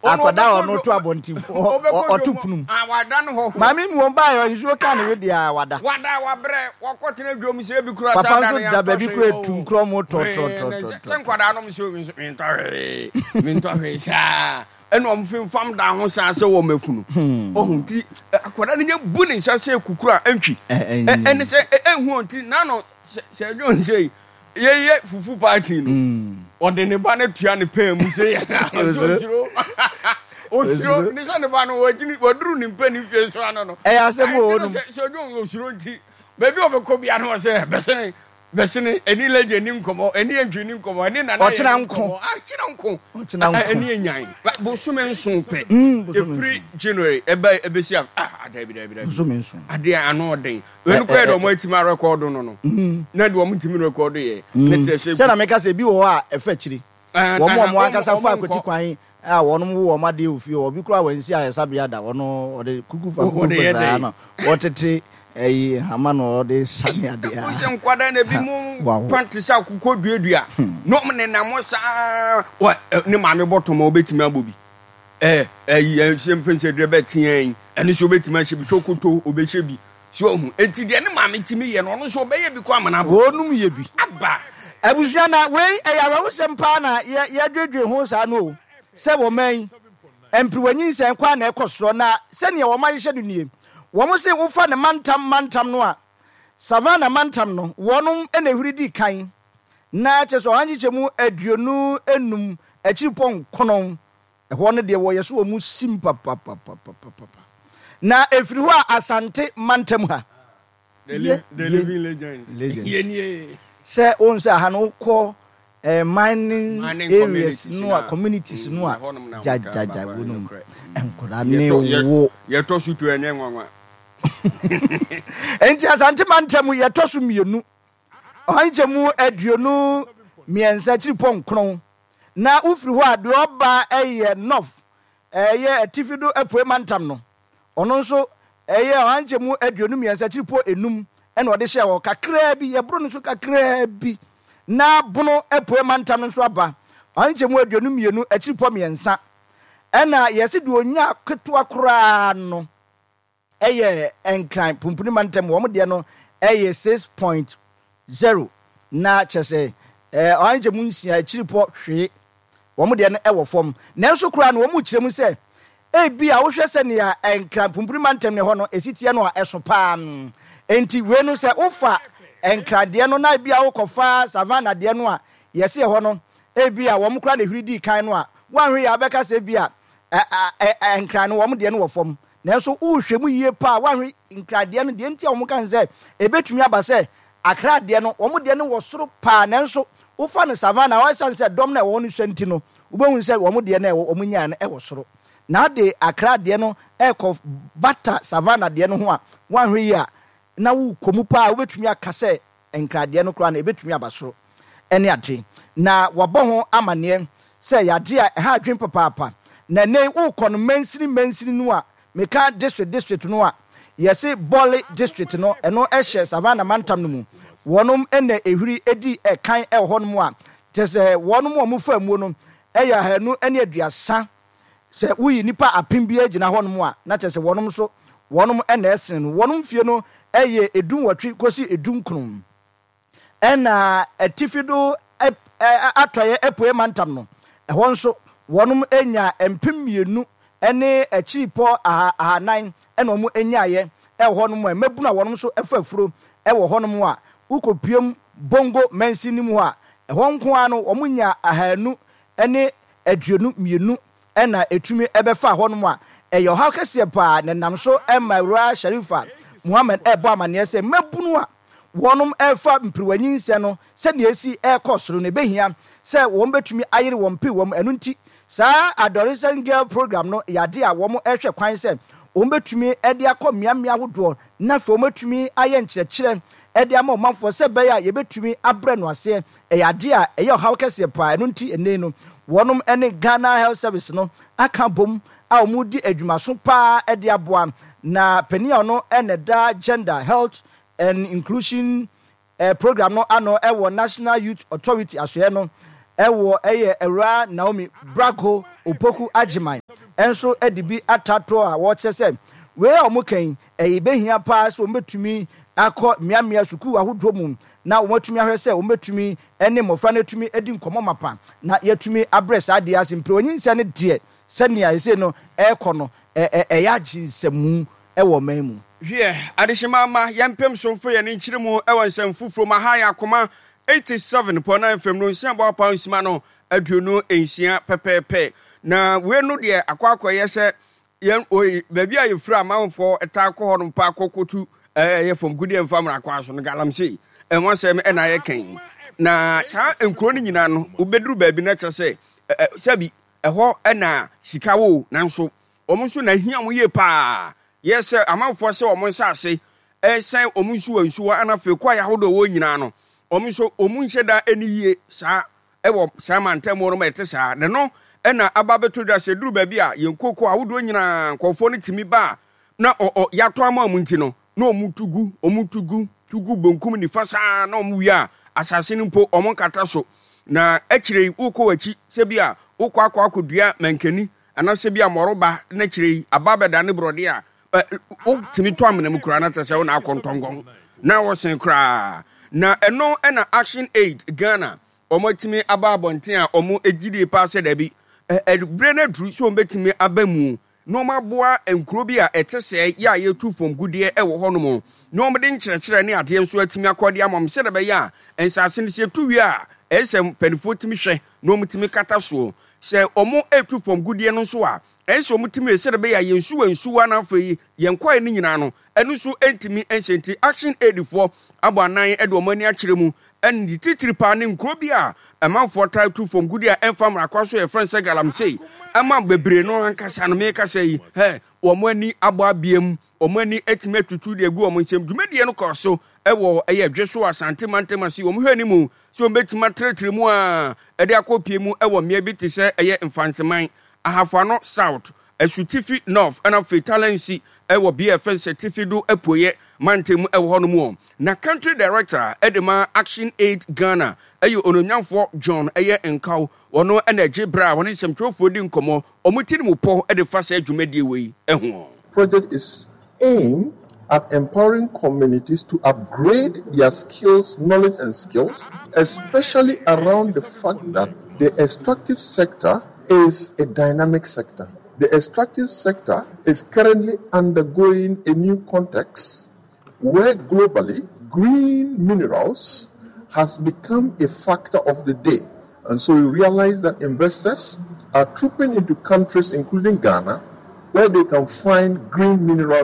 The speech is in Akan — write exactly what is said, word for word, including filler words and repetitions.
Akwadaa a ɔno to abɔnten ɔto punum. Wada no hɔ. Maame mu wɔn baayɛ nsuo ka ne wedeɛ a wada. Wada wabrɛ wakɔtena dwom sɛ ebi kura saa da no yɛntɔ hwee. Papa nso da baabi kura etu nkorɔ mu tɔtɔtɔtɔ. Sɛ nkwadaa nom so mentɔ hwee mentɔ hwee saa ɛna wɔn fimfam da ho saa sɛ wɔn afunu. Ɔho nti akwadaa no nyɛ bu ne nsa sɛ kukuru a ɛntwi ɛne sɛ ɛnhu nti nano sɛ sɛ ɛdwon sɛ yɛyɛ fufu party no mm. ɔde ne ba no tua ne pɛn mu sɛ osuro osuro ne sɛ ne ba no wagyini waduru ne mpɛ ne fie so ano no ɛyɛ asɛm wɔ hɔ nom sɛ sɛ ɔdwo osuro nti baabi a ɔbɛkɔ bia no ɔsɛ bɛsene bɛsene ɛni lɛgye ni nkɔmɔ ɛni antwi ni nkɔmɔ ɛni nana yɛ ni nkɔmɔ akyena nko ɔkyena nko ɛni enyan bosome nson pɛ efiri January ɛbɛ ɛbɛsi a ah dabi dabi dabi bosome nson adeɛ ano ɔden. Wei no kɔyɛ deɛ wɔn atumi arekɔdo no no mm. na deɛ wɔn ntumi rekɔdo yɛ. Mm. Sɛ na meka sɛ ebi wɔ hɔ a ɛfɛ akyiri wɔn a wɔn ankasa fa akwati kwan a wɔn wo wɔn adeɛ wɔ fie obi koraa wɔn nsi ayɛsabea da wɔn ɔde kuku fa kuku fa saa na wɔtete ɛyi hama na ɔde sani adeɛ a. Sɛ nkwadaa na ebi mu pante sɛ akokɔ duadua hmm. na wɔn nenam saa wɔ ne maame bɔtɔm a wɔbɛtumi abɔ bi ɛɛ ɛyi ɛhyɛ mfɛnsɛ dua bɛ teɛ yi ɛno nso wɔbɛtumi ahyɛ bi twokoto wɔbɛhyɛ bi. So wahu? Enti deɛ ne maame tumi yɛ no, ɔno nso ɔbɛyɛ bi kɔ ama no abɔ. Wɔnom yɛ bi. Aba. Abusua na wei ɛyɛ awerɛhosɛm paa na yɛ yɛdwedwe ho saa no o, sɛ wɔ man yi, mpiriwa nyinsɛn kɔ a na ɛkɔ sorɔ na sɛdeɛ wɔn ahyehyɛ no nie. Wɔn se wofa ne mantam mantam no a, Savannah mantam no, wɔnom na ɛhuri di kan na kyerɛ sɛ ɔha nkyekyɛmu aduonu nnum akyiripɔ nkono. Ɛhɔ no deɛ wɔyɛ so wɔn sim papapapapapa. Na ɛfiri hɔ a Asante mantam ha. The, li the living legends. Legends. Sɛ wɔn sɛ aha no wokɔ eh, mining, mining areas no a communities no a gyagyagya wɔ no mu nkwadaa ne wo. Yɛtɔ so tu ɛnyɛ nwanwa. Nti Asante mantam yɛtɔ so mmienu ɔha nkyɛmu aduonu mmiɛnsa akyiripɔ nkron. Na wofiri hɔ a, deɛ ɔba yɛ North, ɛyɛ atifi do apuei mantam no. Ɔno nso ɛyɛ ɔha nkyɛmu aduonu mmiɛnsa akyiripɔ enum na ɔde hyɛɛ hɔ. Kakraa bi, yɛboro no so kakraa bi na Bono apuei mantam no nso aba, ɔha nkyɛmu aduonu mmienu akyiripɔ mmiɛnsa. Ɛna yɛse deɛ ɔnya ketewa koraa no, Ɛyɛ Nkran pumpuni mantam wɔn deɛ no ɛyɛ six point zero na kyerɛ sɛ ɛɛ ɔha nkyɛmu nsia akyiri pɔ hwee wɔn deɛ no ɛwɔ fam nanso koraa no wɔn kyerɛ mu sɛ ebi a wohwɛ sɛnea Nkran pumpuni mantam ne hɔ no esi teɛ no a ɛso paa nti wei no sɛ wofa Nkran deɛ no na ebi a wokɔfa Savannah deɛ no a yɛsi ɛhɔ no ebi a wɔn koraa na ehwiri dii kan no a wɔanhwɛ yɛ abɛka sɛ ebi a ɛ ɛ Nkran no wɔn deɛ no wɔ fam. Nanso wohwɛ mu yie paa a, woanhwɛ Nkran deɛ no, deɛ nti a wɔka no sɛ ɛbɛtumi aba sɛ Accra deɛ no, wɔn deɛ no wɔ soro paa, nanso wofa no Savannah hɔ, ɛsiane sɛ dɔm no a ɛwɔ hɔ no sua nti no, wobɛhunu sɛ wɔn deɛ no a ɛwɔ wɔn nyaeɛ no wɔ soro. Na wode Accra deɛ no rekɔ bata Savannah deɛ no ho a, woanhwɛ yie a, na wokɔ mu paa a, wobɛtumi aka sɛ nkradeɛ no koraa no, ɛbɛtumi aba soro ne ade. Na wɔabɔ ho amanneɛ sɛ ɛyɛ adeɛ a ɛha adwene papaapa. Na ɛnnɛ yi wokɔ no mansini mansini no a, meka district district no a, yɛse Bole district no, ɛno hyɛ Savannah mantam no mu. Wɔnom na ɛhuri di kan wɔ hɔnom a, kyerɛ sɛ wɔnom a wɔfaa muo no yɛ ahanu ne aduasa. Sɛ woyi nnipa apem biara gyina hɔnom a, na kyerɛ sɛ wɔnom nso wɔnom na ɛsene no. Wɔnom mfie no yɛ du-nwɔtwe kɔsi du-nkron. Ɛna atifi do atɔeɛ apueɛ mantam no, ɛhɔ nso wɔnom nya mpem mmienu ne akyiripɔ aha ahanan na wɔn nyaeɛ wɔ hɔnom a mmabunu a wɔnom nso fa afuro wɔ hɔnom a wokɔpuem Bongo mansin no mu hɔ a, ɛhɔ nko ara no wɔn nya ahanu ne aduonu mmienu na ɛtumi bɛfaa hɔnom a, ɛyɛ ɔhaw kɛseɛ paa na ɛnam so ma Awuraa Sharifa Muhammad rebɔ amaneɛ sɛ mmabunu a wɔnom refa mpiriwa nyinsɛn no sɛdeɛ ɛsi rekɔ soro no ɛbɛhia sɛ wɔn bɛtumi ayere wɔn mpiriwa mu. Ɛno nti saa Adolescent Girl Program no yɛ adeɛ a wɔn rehwɛ kwan sɛ wɔn bɛtumi de akɔ mmeammea ahodoɔ na afei wɔn atumi ayɛ nkyerɛkyerɛ de ama ɔmanfoɔ sɛ ɛbɛyɛ a yɛbɛtumi abrɛ no aseɛ. Ɛyɛ adeɛ a ɛyɛ ɔhaw kɛseɛ paa, ɛno nti ɛnnɛ yi no wɔnom ne Ghana Health Service no aka abom a wɔredi adwumaso paa de aboa. Na panin a ɔno na ɛda Gender, Health and Inclusion Program no ano wɔ National Youth Authority asoɛɛ no Ɛwɔ ɛyɛ Awuraa Naomi Brako Opoku Agyeman nso de bi atatoɔ a wɔkyerɛ sɛ wei a wɔka yi ɛyɛ bɛhia paa sɛ wɔbɛtumi akɔ mmeammea sukuu ahodoɔ mu na wɔatumi ahwɛ sɛ wɔbɛtumi ne mmɔfra no atumi adi nkɔmmɔ mapa na yɛatumi abrɛ saa adeɛ ase. Mprɛ onyinsɛn no deɛ, sɛnea ɛsei no ɛrekɔ no, ɛyɛ agye nsɛmu wɔ ɔman mu. Hwiɛ, adehyema mma yɛmpem so mfa yɛn ani nkyere mu wɔ nsɛm foforo mu. Aha yɛ Akoma eighty-seven point nine F M no nsia bɔ apaw nsima no aduonu nsia pɛpɛɛpɛ. Na wei no deɛ akɔ akɔyɛ sɛ yɛn oi baabi a yɛfiri amanfoɔ taa kɔ hɔ nom paa kɔ kɔtu ɛyɛ fam gudeɛ mfa mmara kwan so no, galamsey ɛho asɛm ɛna yɛka yi. Na saa nkuro no nyinaa no, wobɛduru baabi no kyerɛ sɛ sɛbi ɛhɔ ɛna sika wɔ, nanso wɔn nso na ahia wɔn yie paa. Yɛ sɛ amanfoɔ sɛ wɔn nsaase ɛsɛn wɔn nsuwa nsuwa ɛna afei kɔ ayɛ ahodoɔ wɔ nyinaa no, wɔn nso wɔn nhyɛ da ɛni yie saa ɛwɔ saa mantam no ma ɛte saa. Na no ɛna aba abɛto dwa sɛ duru baabi a yɛn koko ahodoɔ nyinaa nkɔfoɔ no tumi ba a na ɔ ɔ yɛatɔ ama wɔn nti no, na wɔn tu gu, wɔn tu gu tu gu bonkum nifa saa, na wɔn wie a asase no mpo wɔn nkata so. Na akyire yi wokɔ w'akyi sɛ bi a wokɔ akɔ akɔdua mankani anaasɛ bi a mmɔroba, na akyire yi aba abɛda ne borɔdeɛ a wotumi tɔ amena mu koraa na kyerɛ sɛ wo na akɔ ntɔngɔn na wɔsen koraa. Na ɛno ɛna Action Aid Ghana wɔn atumi aba abɔnten a wɔn gyidie paa sɛ daabi, ɛberɛ no aduru sɛ wɔn bɛtumi aba mu na wɔn aboa nkuro bi a ɛte sɛ yɛ a yɛtu fam gudeɛ wɔ hɔnom, na wɔn de nkyerɛkyerɛ ne adeɛ nso atumi akɔ de ama wɔn sɛdeɛ ɛbɛyɛ a nsaase no sɛ yɛtu wie a, ɛyɛ sɛ mpanimfoɔ tumi hwɛ na wɔn tumi kata soɔ. Sɛ wɔn etu fam gudeɛ no nso a, ɛyɛ sɛ wɔn tumi sɛdeɛ ɛbɛyɛ a yɛn nsuwa nsuwa na afei yɛn kwae no nyinaa no, ɛno nso ntumi nhyɛ. Nti Action Aid foɔ abɔ anan de wɔn ani akyerɛ mu, ɛne ne titiri paa ne nkuro bi a ɛmanfoɔ taa tu fam gudi a ɛmfa mmara kwan so, yɛfrɛ no sɛ galamsey, ɛma bebree no ankasa no mekasa yi hɛ wɔn ani abɔ abiem, wɔn ani atumi atutu de agu wɔn nsam. Dwumadie no kɔɔ so ɛwɔ ɛyɛ dwe so Asante mantam ase. Wɔn hwɛ ne mu sɛ wɔn bɛtumi atrɛtrɛ mu a ɛde akɔ pie mu ɛwɔ mmea bi te sɛ ɛyɛ Mfanteman, Ahafoano South, Asutifi North, ɛna afei Talensi ɛwɔ bea ɛfɛn sɛ Tifi do Apueɛ mantam ɛwɔ hɔnom wɔ. Na country director ɛde ma Action Aid Ghana ɛyɛ Ononyamfoɔ John ɛyɛ Nkaw. Ɔno ɛna ɛgye berɛ a wɔne nsɛmtwerɛfoɔ di nkɔmmɔ, wɔn ti ne mu pɔ ɛde fa saa dwumadie wei ɛho. Project is aimed at empowering communities to upgrade their skills, knowledge, and skills, especially around the fact that the extractive sector is a dynamic sector. The extractive sector is currently undergoing a new context where globally green minerals has become a factor of the day. And so you realize that investors are trooping into countries, including Ghana, where they can find green minerals.